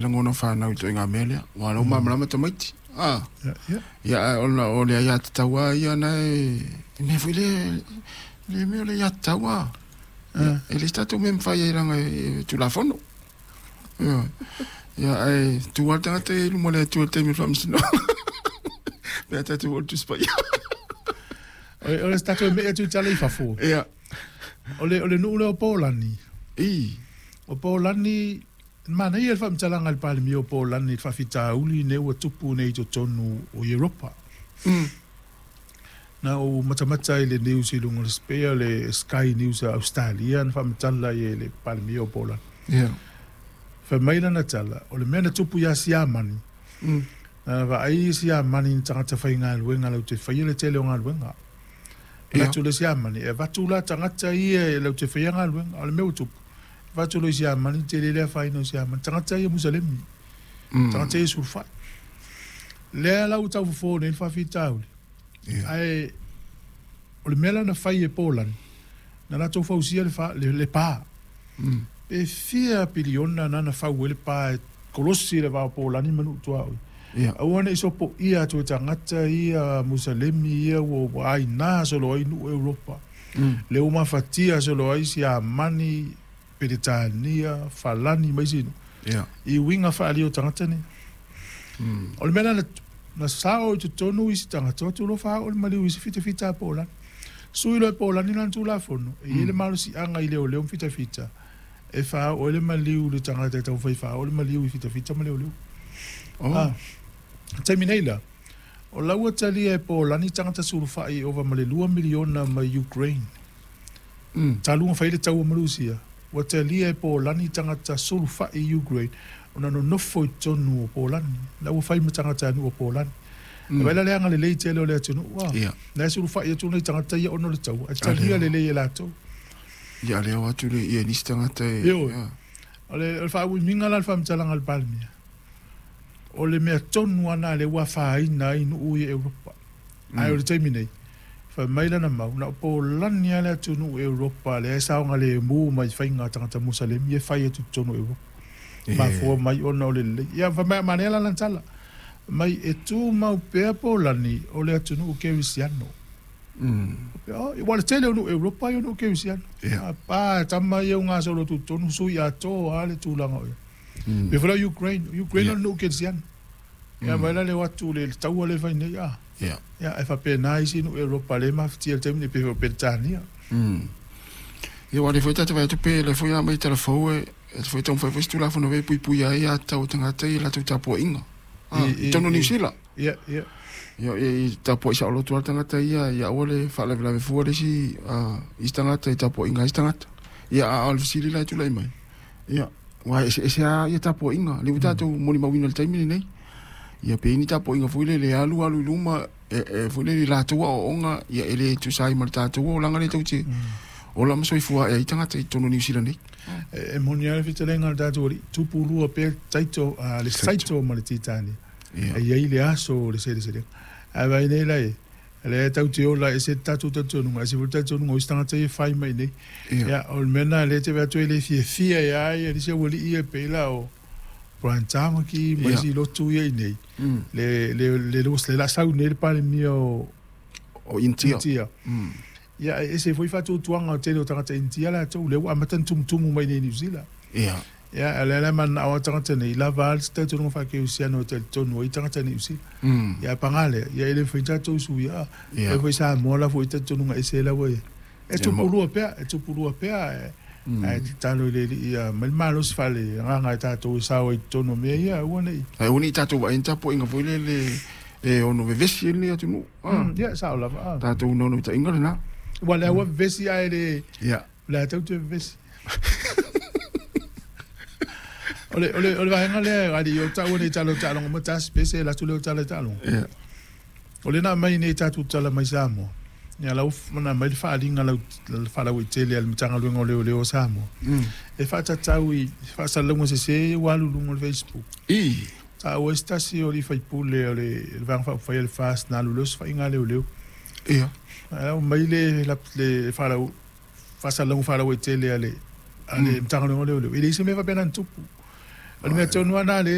Lagona fanau i ituaiga mea lea, aua o la ua malamalama tamaiti. A, ia, ae ona o le aiatatau lava ia na e, e mea foi lea, le mea o le aiatatau lava. Ia, e leai se tatou mea e mafai ai leaga e Tulafono. Ioe. Ia, ae tu lava le tagata ia i luma o le Atua i le taimi o le faamasinoga. Pe a tatou oo i le Tusi Paia. O le tatou e me'i atu i tala i fafo. Ia. O le nuu lea o Polani. I. O Polani, manaia le faamatalaga a le Palemia o Polani i le faafitauli lenei ua tupu nei i totonu o Europa. Na ou matamata ai i le news i luga o le pei o le Sky News a Ausetalia na faamatala ai e le Palemia o Polani. Fai mai lana tala, o le mea na tupu ia Siamani, na vaai Siamani i tagata faigaluega latou te faia le tele o galuega. Manatu le Siamani, e avatu la tagata ia latou te faia galuega. O le mea ua tupu, avatu loa i Siamani, tele le afaina o Siamani, tagata ia Musalemi, tagata ia sulufai. Lea la ua tau fofo nei le faafitauli, ae o le mea la na fai e Polani, na latou fausia le pa. Pe fia piliona na na fau ai le pa e kolosi le va o Polani ma nuu tuaoi. Aua ne i sopoia atu e tagata ia Musalemi ia ua aina solo ai nuu Europa. Lea ua mafatia solo ai Siamani, Peretania, Falani ma isi nuu. I uiga faaalia o tagata nei. O le mea la na sao i totonu isi tagata, o atu loa faaoo le maliu i isi fitafita a Polani. Sui loa e Polani lana Tulafono, e i ai le malosiaga i leoleo ma fitafita e faaoo ai le maliu i le tagata e taumafai e faaoo le maliu i fitafita ma leoleo. Oh. Taimi nei la, o la ua talia e Polani tagata sulufai e ova ma le 2 miliona mai Ukraine. Talu ona fai le taua ma Rusia, ua talia e Polani tagata sulufai i Ukraine ona nonofo i totonu o Polani. La ua fai ma tagatanuu o Polani. E vaai la le agalelei tele o le atunuu, a. La e sulufai atu nai tagata ia ona o le taua, ae talia lelei e latou. Ia, lea o atu le ia nisi tagata e. Ioe. O le faauimiga la o le faamatalaga a le Palemia, o le mea tonu lava lena lea ua afaina ai nuu ia Europa. Ae o le taimi nei, fai mai lana mau, na o Polani lava le atunuu Europa lea e saogalemu mai faiga a tagata Musalemi e fai atu i totonu o Europa. Mafua mai ona o le lelei. Ia, fai mai, manaia la lana tala, mai e tumau pea Polani o le atunuu kerisiano. Aua o le tele o nuu Europa ia o nuu kerisiano. A tama ia ua gasolo atu i totonu, sui atoa lava le tulaga o i ai. Pei foi la o Ukraine, o Ukraine o le nuu kerisiano. Ia vaai la le o atu le taua lea e fai nei a. Ia ae faapena isi nuu Europa lea e mafatia i le taimi nei pei foi o Peretania. Ia aua o lea foi ta te vaai atu pe o lea foi a aumai tala fou e foi taumafai foi se Tulafono e puipuia ai aiatatau a tagata i latou tapuaiga. I totonu o Niu Sila. Ia, ia. Ia, i tapuai saoloto lava le tagata ia, ia aua le faalavelave fua le isi, isi tagata i tapuaiga a isi tagata. Ia, a o le fesili la e tulai mai, ia, aua e eseese lava ia tapuaiga, lea ua tatou molimauina i le taimi lenei. Ia, pe i ai ni tapuaiga foi lele e alu alu i luma, e foi lele i latou aoaoga, ia e le tusa ai ma le tatou olaga lea tou te ola ma soifua ae ai tagata i totonu o Niu Sila nei. E moni lava le fetalaiga a le tatou Alii, tupu lua pea taito, le saito ma le titania. E i ai le aso o le seleselega. Ae vaai nei la e, lea tatou te ola, e ese le tatou talitonuga, ese foi le talitonuga o isi tagata ia e fai mai nei. Ia, o le mea lena lea e te vaai atu e le fiafia ai lava nisi aualii ia pei la o Brian Tamaki ma isi lotu ia i inei, le, le, le, le la sau nei le Palemia o, o Initia. Initia. Ia, e ese foi faatuatuaga o le tele o tagata Initia latou, lea ua amata ona tumutumu mai nei i Niu Sila. Ia, a o lea la e mananao lava tagata nei, lava a le talitonuga faakerisiano e talitonu ai tagata Niu Sila. Ia, ae paga lea, ia e le mafai ona tatou suia. E foi Samoa la foi talitonuga ese la ua i ai. E tupu lua pea, e tupu lua pea, ae tatalo i le Alii ia aumai le malosi faale-agaga e tatou e sao ai i totonu o mea ia, aua ne i. Ae aua ne i tatou vaai i ni tapuaiga foi lele e ono vevesi ai lenei atunuu. Ia, sao lava. Tatou naunautaiga lena. Aua o lea ua vevesi ae le. Ia. O le a tatou toe vevesi. O le, o le, o le vaega lea, alii, o taua nei tala o taaloga ma tasi, pe se alu atu lea o tala i taaloga. Ia. O lea na aumai nei tatou tala mai Samoa, ia la ua na aumai le faaaliga faalauaitele a le Matagaluega o Leoleo o Samoa, e faatatau i faasalalauga sese ia ua alu i luga o le Facebook. I. Taua ai se tasi o alii faipule o le Vaega Faaupufai a le FAST na alu loa osofaiga a leoleo. Ia. Ae aumai le faasalalauga faalauaitele a le Matagaluega o Leoleo, e leai se mea faapena na tupu. O le mea tonu lava lena.